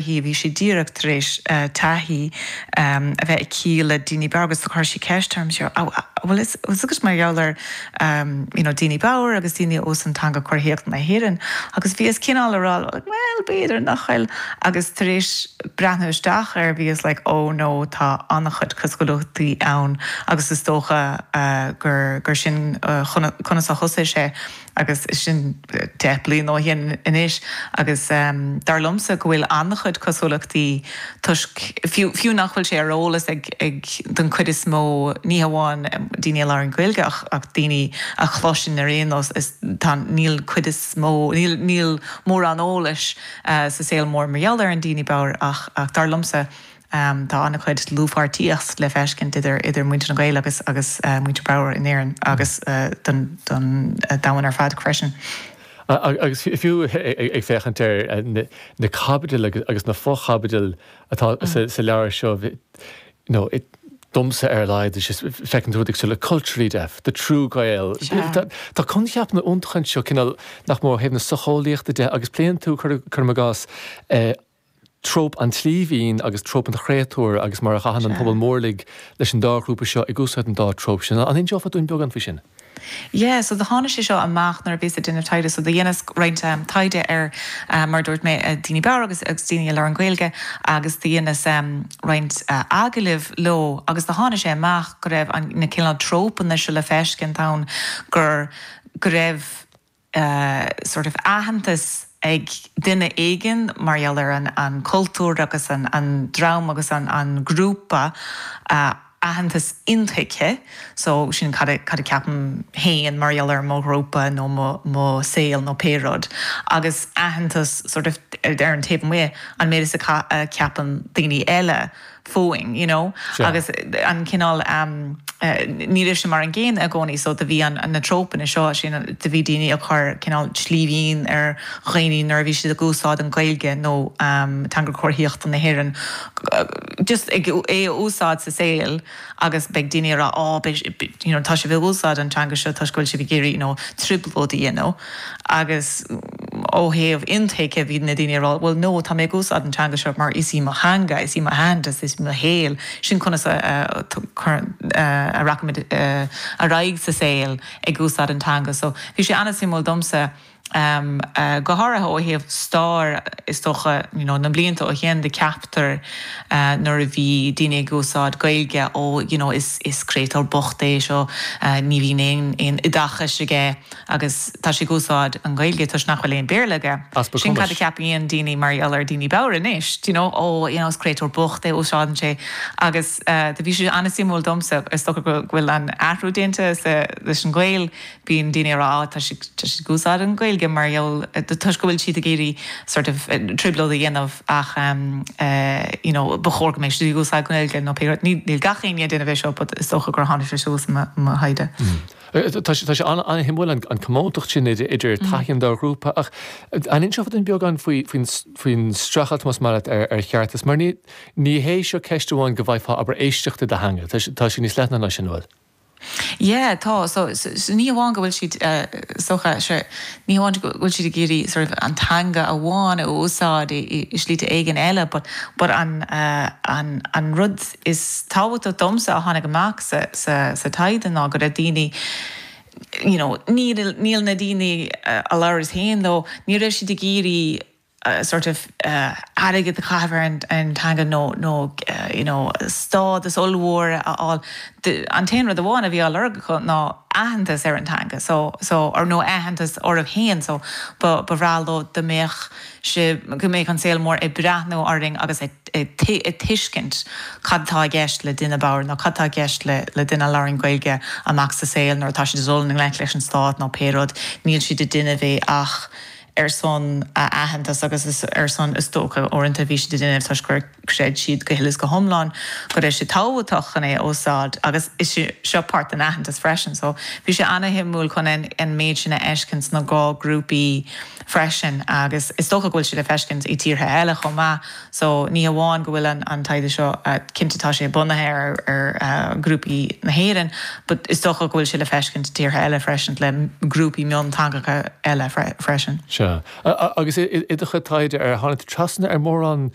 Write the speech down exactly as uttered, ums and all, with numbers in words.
Bhí sí díreach tar éis taithí a bheith aici le daoine bodhar agus chuir sí ceist orm seo bhfuil agus mar gheall ar you know, daoine bodhar agus daoine a úsáideann teanga chomharthaíochta na hÉireann agus bhíos cineál ag rá well b'fhéidir nach bhfuil agus tar éis breathnú isteach air bhíos like oh no tá an-chuid cosúlachtaí ann agus is dócha uh, gur gur sin uh, conas a thosaigh sé agus sin deich bliain ó shin anois agus um, dar liomsa go bhfuil an-chuid cosúlachtaí toisc fiú, fiú nach bhfuil sé ar eolas ag, ag den chuid is mó ní hamháin daoine a labhraíonn Gaeilge ach, ach daoine a chloiseann ar aon nós is tá níl cuid is mó níl, níl mórán eolais uh, sa saol mór mar gheall ar an daoine bodhar ach, ach dar liomsa um, tá an-chuid dlúthpháirtíocht le feiscint idir idir muintir na Gaeil agus agus uh, muintir bodhar in Éirinn agus uh, don, don uh, domhan ar fad freisin. Agus fiú ag féachaint ar na caibidil agus na fochaibidil atá mm. sa leabhar seo no, domsa ar leid feiceann tú le culturally deaf, the true Gael. Tá coincheap na iontacha seo cineál nach mór thaobh na socheolaíochta de agus pléann tú cuirim i gcás tróp an tslíbhín agus tróp an chréatúir agus mar a chaitheann an pobal mórlaigh leis an dá ghrúpa seo ag úsáid an dá tróp sin. An inseofá dúinn beagán faoi sin? Yeah, so do tháinig sé seo amach nuair a bhíos ag déanamh taighde so do dheineas roinnt um, taighde ar um, mar dúirt mé uh, daoine bodhar agus agus daoine a labhraíonn Gaeilge agus do dheineas um, roinnt uh, agallamh leo agus do tháinig sé amach go raibh an na cineál trópanna seo le feiscint ann gur go raibh uh, sort of aitheantas ag duine éigin mar gheall ar an, an cultúr agus an, an dream agus an, an grúpa uh, aitheantas intuigthe, so sin cad cad a ceapaim féin mar gheall ar mo ghrúpa nó mo, mo saol nó pé rud. Agus aitheantas sort of ar an taobh amuigh an méid is a ceapann daoine eile fúinn, you know? Sure. Agus an cineál um, uh, ní raibh sé mar an gcéanna i gcónaí so do bhí an, an na trópanna seo sin do bhí daoine ag cur cineál slíbhín ar dhaoine nuair a bhí siad ag úsáid an Ghaeilge nó um, teanga chomharthaíochta na hÉireann. Just ag é a úsáid sa saol agus beidh daoine rá á you know, tá sibh ag úsáid an teanga seo tá bhfuil sibh ag iarraidh you know, trioblóid you know? Agus ó thaobh intuigthe bhí na daoine rá well no tá mé ag úsáid an teanga seo mar is í mo theanga is í mo aitheantas is mo shaol sin conas a, a, a rachaimid ar aghaidh sa saol ag úsáid an teanga so bhí sé an-suimiúil domsa um, uh, go háirithe ó thaobh stair is dócha you know, na blianta ó shin de ceaptar uh, nuair a bhí daoine ag úsáid Gaeilge ó you know, is, is créatúr bocht é seo uh, ní bhíonn aon aon oideachas aige agus tá sé ag úsáid an Ghaeilge toisc nach bhfuil aon Béarla aige. Sin cad a ceapann daoine mar gheall ar daoine bodhar anois, you know, ó you know, is créatúr bocht é úsáideann sé agus uh, do bhí sé an-suimiúil domsa is dócha go bhfuil an athrú déanta leis an Ghaeil bíonn daoine rá tá sé ag úsáid an Ghaeilge mar gheall toisc go bhfuil siad ag iarraidh sort of trioblóid a dhéanamh ach um, uh, you know, ba chóir go mbeadh siad ag úsáid Gaeilge nó pé níl gach aon duine bheith seo, but is dócha gur tháinig sé suas mo thaighde. Tá sé an-shuimiúil an comóntacht sin idir taithí an dá ghrúpa ach an inseofá dúinn beagán faoin streachailt más maith leat ar ar cheartas, mar ní ní hé seo ceist amháin go bhfaighfeá abair éisteachta do theanga, tá sé níos leithne ná sin bhfuil. Yeah, tá so, so, so ní amháin go bhfuil siad uh, socha sé ní amháin go bhfuil siad ag iarraidh sort of an teanga amháin a úsáid i, i slite éigin eile, but, but an, uh, an, an rud is tábhachtach domsa a tháinig amach sa, sa, sa taighde ná go raibh daoine you know, níl, níl na daoine uh, a labhras féin leo, ní raibh siad ag iarraidh uh, sort of uh, airgead a chaitheamh ar an, an teanga nó nó uh, you know, stádas ollmhór a fháil. An t-aon rud amháin a bhí á lorg acu ná aitheantas ar an teanga so so or nó aitheantas orthu féin so ba ba bhreá leo dá mbeadh sé go mbeadh an saol mór ag breathnú orainn agus ag ag tuiscint cad tá i gceist le duine bodhar nó cad tá i gceist le le duine a labhraíonn Gaeilge amach sa saol nuair atá siad dul i ngleic leis an stát nó pé rud níl siad ag déanamh é ach ar son a aitheantas agus is ar son is dócha uaireanta bhí siad ag déanamh toisc gur chreid siad go huile is go hiomlán go raibh sé tábhachtach chun é a úsáid agus is seo páirt den aitheantas freisin so bhí sé an-shuimiúil chun an, an méid sin a fheiscint sna dhá grúpaí freisin agus is dócha go bhfuil sé le feiscint i tíortha eile chomh maith so ní amháin go bhfuil an, an taighde seo uh, cinnte tá sé bunaithe ar, ar uh, grúpaí na hÉireann, but is dócha go bhfuil sé le feiscint tíortha eile freisin le grúpaí mionteangacha eile fre, freisin. Se. Sea. Agus i do chuid taighde ar tháinig trasna ar mórán